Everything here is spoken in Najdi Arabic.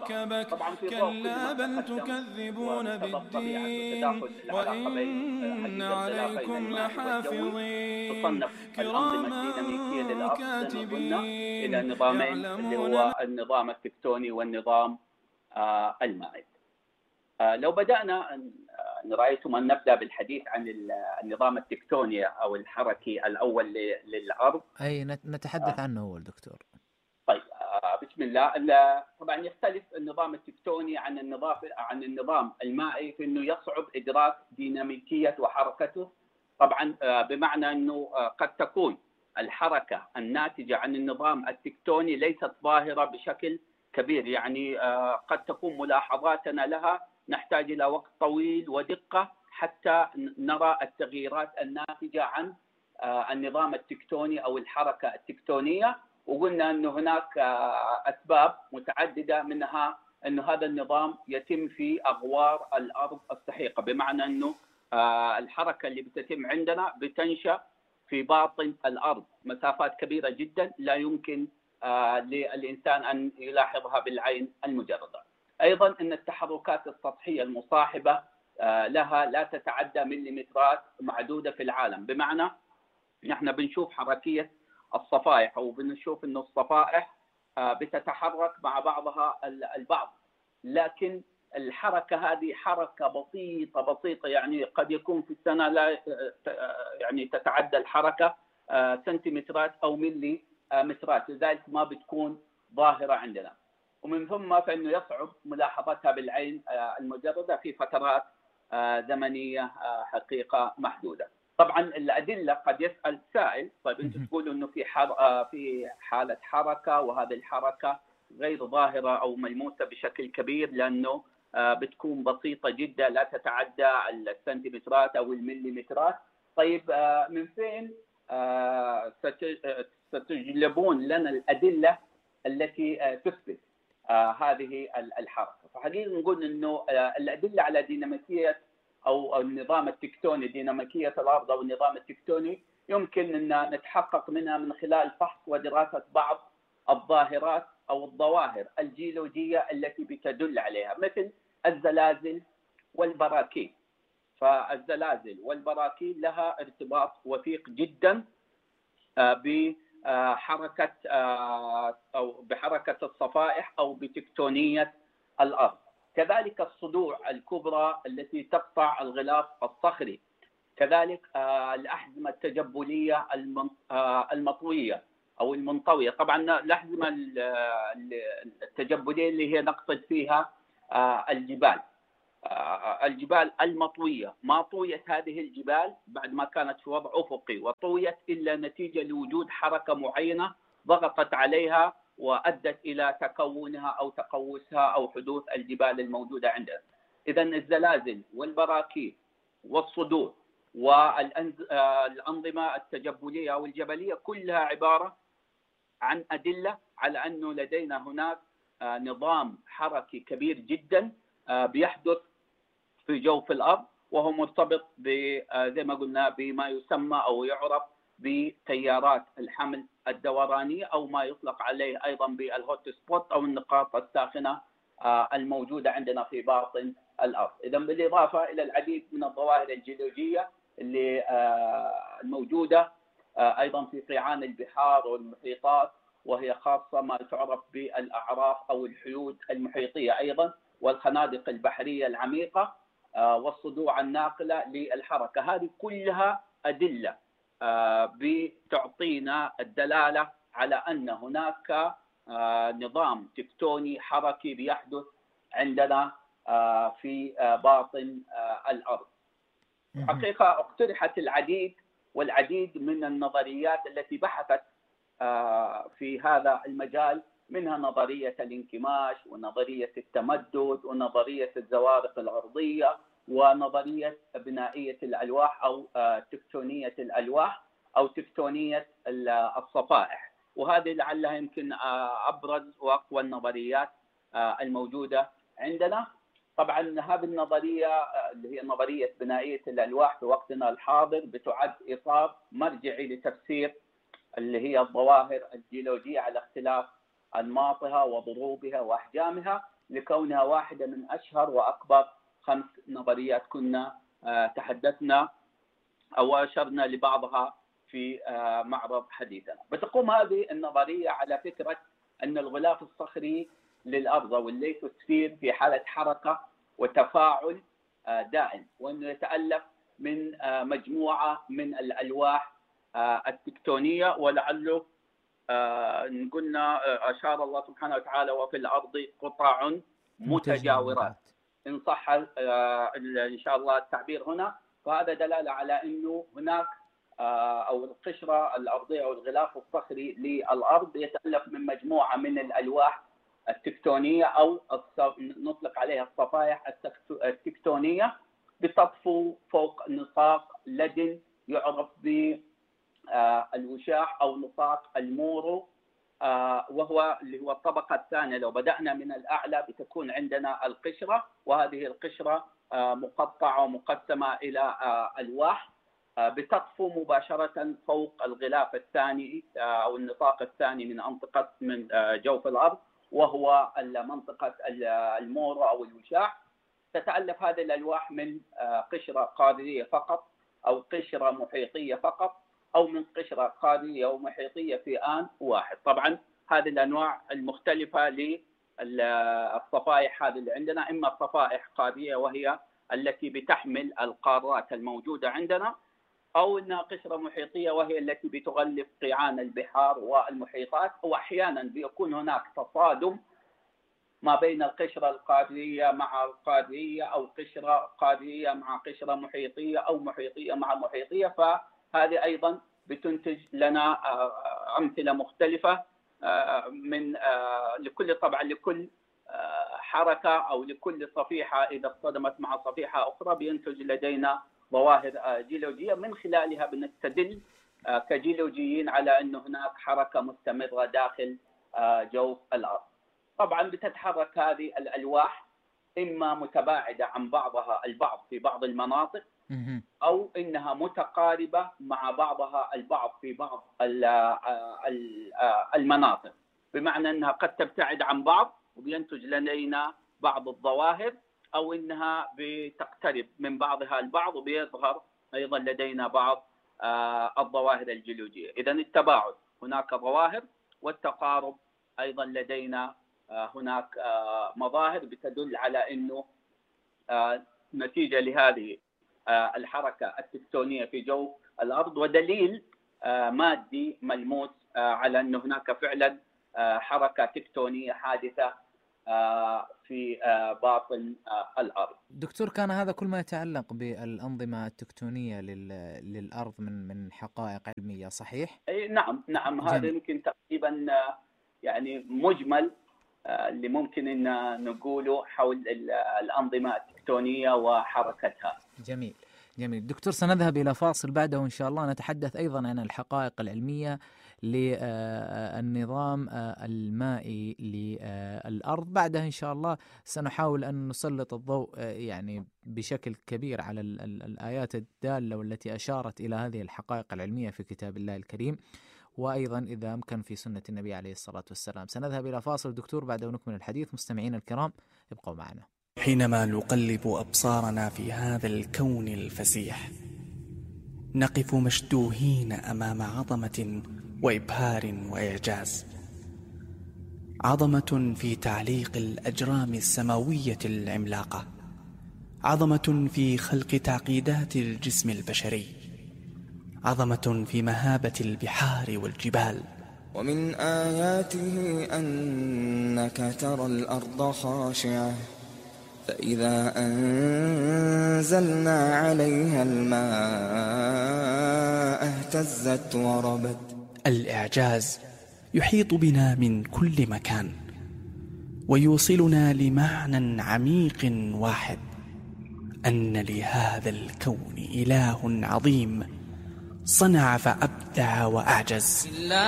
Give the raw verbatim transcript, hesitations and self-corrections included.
ركبك طبعا في ضوء كل كلا ما بل تقدم تكذبون ومقتضى الطبيعة بالدين وتداخل العلاقة بين وإن حديد الغلافين عليكم المائي والجوي، لحافظين تصنف الأنظمة كراما الديناميكية للأرض زي ما قلنا إلى كاتبين نظامين، اللي يعلمون ما هو النظام التكتوني والنظام آه المائي. آه لو بدأنا آه رأيتم أن نبدأ بالحديث عن النظام التكتوني أو الحركي الأول للأرض. أي نتحدث عنه هو الدكتور. طيب آه بسم الله. طبعا يختلف النظام التكتوني عن النظام عن النظام المائي في انه يصعب ادراك ديناميكيه وحركته. طبعا آه بمعنى انه آه قد تكون الحركه الناتجه عن النظام التكتوني ليست ظاهره بشكل كبير، يعني آه قد تكون ملاحظاتنا لها نحتاج الى وقت طويل ودقه حتى نرى التغييرات الناتجه عن آه النظام التكتوني او الحركه التكتونيه. وقلنا أن هناك أسباب متعددة، منها أن هذا النظام يتم في أغوار الأرض السحيقة، بمعنى أنه الحركة اللي بتتم عندنا بتنشأ في باطن الأرض مسافات كبيرة جدا لا يمكن للإنسان أن يلاحظها بالعين المجردة. أيضا أن التحركات السطحية المصاحبة لها لا تتعدى مليمترات معدودة في العالم، بمعنى نحن بنشوف حركية الصفائح أو بنشوف أن الصفائح بتتحرك مع بعضها البعض، لكن الحركة هذه حركة بسيطة بسيطة، يعني قد يكون في السنة لا يعني تتعدى الحركة سنتيمترات أو ملي مترات، لذلك ما بتكون ظاهرة عندنا. ومن ثم فإنه يصعب ملاحظتها بالعين المجردة في فترات زمنية حقيقة محدودة. طبعا الأدلة قد يسأل سائل، طيب أنتم تقولوا أنه في في حالة حركة وهذه الحركة غير ظاهرة أو ملموسة بشكل كبير لأنه بتكون بسيطة جدا لا تتعدى السنتيمترات أو المليمترات. طيب من فين ستجلبون لنا الأدلة التي تثبت هذه الحركة؟ فحقيقة نقول أنه الأدلة على ديناميكية أو النظام التكتوني، ديناميكية الأرض أو النظام التكتوني، يمكن أن نتحقق منها من خلال فحص ودراسة بعض الظاهرات أو الظواهر الجيولوجية التي بتدل عليها، مثل الزلازل والبراكين. فالزلازل والبراكين لها ارتباط وثيق جدا بحركة أو بحركة الصفائح أو بتكتونية الأرض. كذلك الصدوع الكبرى التي تقطع الغلاف الصخري، كذلك الأحزمة التجبلية المطوية أو المنطوية. طبعا الأحزمة التجبلية اللي هي نقصد فيها الجبال الجبال المطوية. ما طويت هذه الجبال بعد ما كانت في وضع أفقي، وطويت إلا نتيجة لوجود حركة معينة ضغطت عليها وأدت إلى تكونها أو تقوسها أو حدوث الجبال الموجودة عندنا. إذن الزلازل والبراكين والصدوع والأنظمة التجبلية أو الجبلية كلها عبارة عن أدلة على أنه لدينا هناك نظام حركي كبير جدا بيحدث في جوف الأرض، وهو مرتبط زي ما قلنا بما يسمى أو يعرف بتيارات الحمل الدورانية، أو ما يطلق عليه أيضا بالهوت سبوت أو النقاط الساخنة الموجودة عندنا في باطن الأرض. إذا بالإضافة إلى العديد من الظواهر الجيولوجية اللي الموجودة أيضا في قيعان البحار والمحيطات، وهي خاصة ما تعرف بالأعراف أو الحيود المحيطية أيضا، والخنادق البحرية العميقة والصدوع الناقلة للحركة. هذه كلها أدلة بتعطينا الدلالة على أن هناك نظام تكتوني حركي بيحدث عندنا في باطن الأرض. حقيقة اقترحت العديد والعديد من النظريات التي بحثت في هذا المجال، منها نظرية الانكماش ونظرية التمدد ونظرية الزوارق الأرضية ونظرية بنائية الألواح أو تكتونية الألواح أو تكتونية الصفائح، وهذه لعلها يمكن أبرز وأقوى النظريات الموجودة عندنا. طبعا هذه النظرية اللي هي نظرية بنائية الألواح في وقتنا الحاضر بتعد إطار مرجعي لتفسير اللي هي الظواهر الجيولوجية على اختلاف أنماطها وضروبها وأحجامها، لكونها واحدة من أشهر وأكبر خمس نظريات كنا تحدثنا أو أشرنا لبعضها في معرض حديثنا. بتقوم هذه النظرية على فكرة أن الغلاف الصخري للأرض والليثوسفير في حالة حركة وتفاعل دائم، وأنه يتألف من مجموعة من الألواح التكتونية، ولعله قلنا أشار الله سبحانه وتعالى وفي الأرض قطع متجاورات إن صح إن شاء الله التعبير هنا. فهذا دلالة على أنه هناك أو القشرة الأرضية أو الغلاف الصخري للأرض يتألف من مجموعة من الألواح التكتونية أو نطلق عليها الصفائح التكتونية بتطفو فوق نطاق لدن يعرف بالوشاح أو نطاق المورو، وهو اللي هو الطبقة الثانية. لو بدأنا من الأعلى بتكون عندنا القشرة، وهذه القشرة مقطعة ومقسمة إلى ألواح بتطفو مباشرة فوق الغلاف الثاني أو النطاق الثاني من منطقة من جوف الأرض، وهو منطقة المورو أو الوشاح. تتألف هذه الألواح من قشرة قارية فقط أو قشرة محيطية فقط أو من قشرة قارية ومحيطية في آن واحد. طبعا هذه الأنواع المختلفة للصفائح هذه اللي عندنا، إما صفائح قارية وهي التي بتحمل القارات الموجودة عندنا، أو أنها قشرة محيطية وهي التي بتغلف قيعان البحار والمحيطات، وأحيانا بيكون هناك تصادم ما بين القشرة القارية مع القارية أو قشرة قارية مع قشرة محيطية أو محيطية مع محيطية. فهذه أيضا بتنتج لنا أمثلة مختلفة من لكل طبعا لكل حركة أو لكل صفيحة إذا اصطدمت مع صفيحة أخرى بينتج لدينا ظواهر جيولوجية من خلالها بنستدل كجيولوجيين على أن هناك حركة مستمرة داخل جوف الأرض. طبعا بتتحرك هذه الألواح إما متباعدة عن بعضها البعض في بعض المناطق، أو إنها متقاربة مع بعضها البعض في بعض المناطق، بمعنى أنها قد تبتعد عن بعض وبينتج لدينا بعض الظواهر، أو إنها بتقترب من بعضها البعض وبيظهر أيضا لدينا بعض الظواهر الجيولوجية. إذن التباعد هناك ظواهر، والتقارب أيضا لدينا هناك مظاهر بتدل على أنه نتيجة لهذه الحركة التكتونية في جو الأرض، ودليل مادي ملموس على أن هناك فعلا حركة تكتونية حادثة في باطن الأرض. دكتور، كان هذا كل ما يتعلق بالأنظمة التكتونية للأرض من من حقائق علمية، صحيح؟ أي نعم نعم. هذا يمكن تقريبا يعني مجمل اللي ممكن أن نقوله حول الأنظمة التكتونية وحركتها. جميل جميل. دكتور، سنذهب إلى فاصل، بعده إن شاء الله نتحدث أيضا عن الحقائق العلمية للنظام المائي للأرض. بعدها إن شاء الله سنحاول أن نسلط الضوء يعني بشكل كبير على الآيات الدالة والتي أشارت إلى هذه الحقائق العلمية في كتاب الله الكريم، وأيضا إذا أمكن في سنة النبي عليه الصلاة والسلام. سنذهب إلى فاصل دكتور، بعده نكمل الحديث. مستمعين الكرام ابقوا معنا. حينما نقلب أبصارنا في هذا الكون الفسيح نقف مشدوهين أمام عظمة وإبهار وإعجاز، عظمة في تعليق الأجرام السماوية العملاقة، عظمة في خلق تعقيدات الجسم البشري، عظمة في مهابة البحار والجبال. ومن آياته أنك ترى الأرض خاشعة فإذا أنزلنا عليها الماء اهتزت وربت. الإعجاز يحيط بنا من كل مكان ويوصلنا لمعنى عميق واحد، أن لهذا الكون إله عظيم صنع فأبدع وأعجز.